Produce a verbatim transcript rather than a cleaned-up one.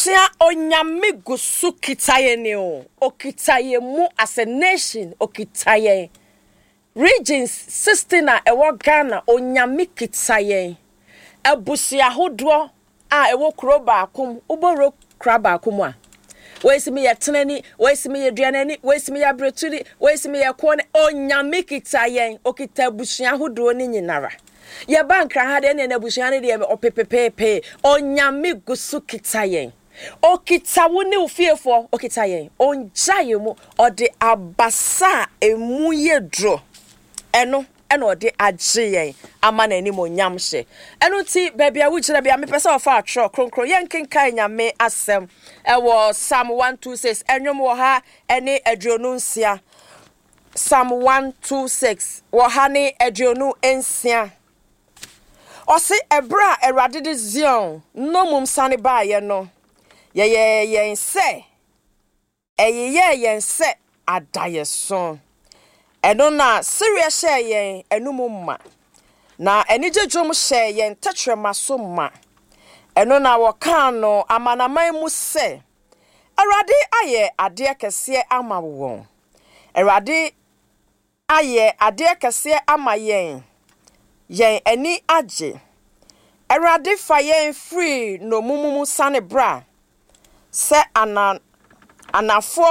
Abusua, Onyame gu so kita yɛn o. Okita yɛn mu as a nation, okita yɛn. Regions sixteen a ɛwɔ Ghana, Onyame kita yɛn. Abusua ahodoɔ a ɛwɔ kuro baako mu, wobɔwuro kura baako mu a, wei si mi yɛ tenani, wei si mi yɛ duanani, wei si mi yɛ abiretuni, wei si mi yɛ kɔɔ ne. Onyame kita yɛn, okita abusua ahodoɔ ne nyinara. Yɛba Nkran ha deɛ, ne abusua no deɛ ɔpepepeepee. Onyame gu so kita yɛn. Okita wo ne wo fiefoɔ, okita yɛn. Ongya yɛn mu, ɔde abasa a emu yɛ duro. Ɛno ɛna ɔde agye yɛn ama n'anim onyam hyɛ. Ɛno nti, baabi a wogyina bia, mepɛ sɛ ɔfa atwerɛ kronkron yɛnkenkan Nyame asɛm ɛwɔ Psalm one two six, ɛnwom wɔ ha ɛne aduonu nsia. Psalm one two six wɔ ha ne aduonu nsia. Ɔse ɛberɛ a Awurade de Zion nnommum sane baeɛ no, yɛyɛ yɛn sɛ ɛyeyɛɛ yɛn sɛ adayɛso. Ɛno na sereɛ hyɛɛ yɛn anum ma, na anigye dwom hyɛɛ yɛn tɛkyerɛma so ma. Ɛno na wɔkaa no amanaman mu sɛ, "Awurade ayɛ adeɛ kɛseɛ ama wɔn. Awurade ayɛ adeɛ kɛseɛ ama yɛn, yɛn ani agye." Awurade, fa yɛn firi nnommum mu sane bra sɛ ana anafoɔ.